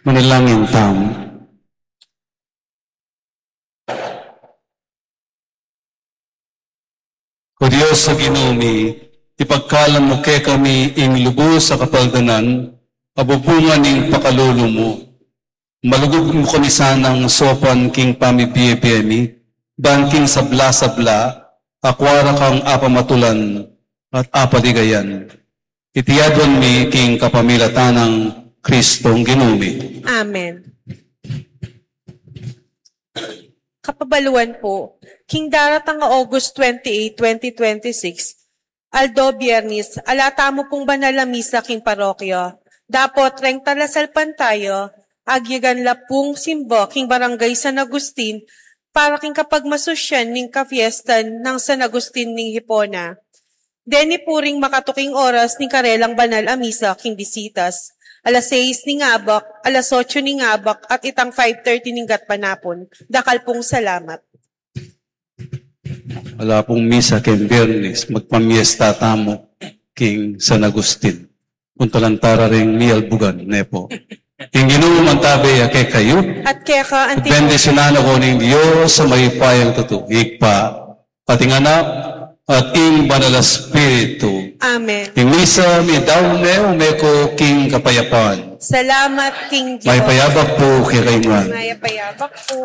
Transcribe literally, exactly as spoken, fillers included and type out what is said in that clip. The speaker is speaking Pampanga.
Manalangin tamu. O Dios a Ginu mi, ipagkalam mu kekami ing lubus a kapaldanan a bubungan ning pakalulu mu. Malugud mu kami sanang saupan king pamibie-bie mi, ban king sabla-sabla, akua ra kang apamatulan at apaligayan. Iti aduan mi king kapamilatan nang Kristong Ginu mi. Amen. Kapabaluan po, king daratang a August twenty-eight, twenty twenty-six, aldo Biyernes, ala tamu pung banal a misa king parokya. Dapot reng talasalpantaya, agyagan la pung simba king Barangay San Agustin para king kapagmasusyan ning kafiestan nang San Agustin ning Hipona. Deni pu ring makatuking oras ning karelang banal a misa king bisitas. Alas sais ning abak, alas otso ning abak, at itang five thirty ning gatpanapun. Dakal pung salamat. Ala pung misa king Biyernes, magpamiesta tamu king San Agustin. Puntalan tara ring mialbugan, ne po. Ing Ginu mantabe ya kekayu. At keka anti. Bendisyunan na kayu ning Dios a mayupayang tutu, Ibpa, at ing Anak, at ing Banal a Espiritu. Amen. Ing misa meyari ne, ume ko king kapayapan. Salamat king Dios. Mayap a abak pu kekayu ngan. Mayap a abak pu.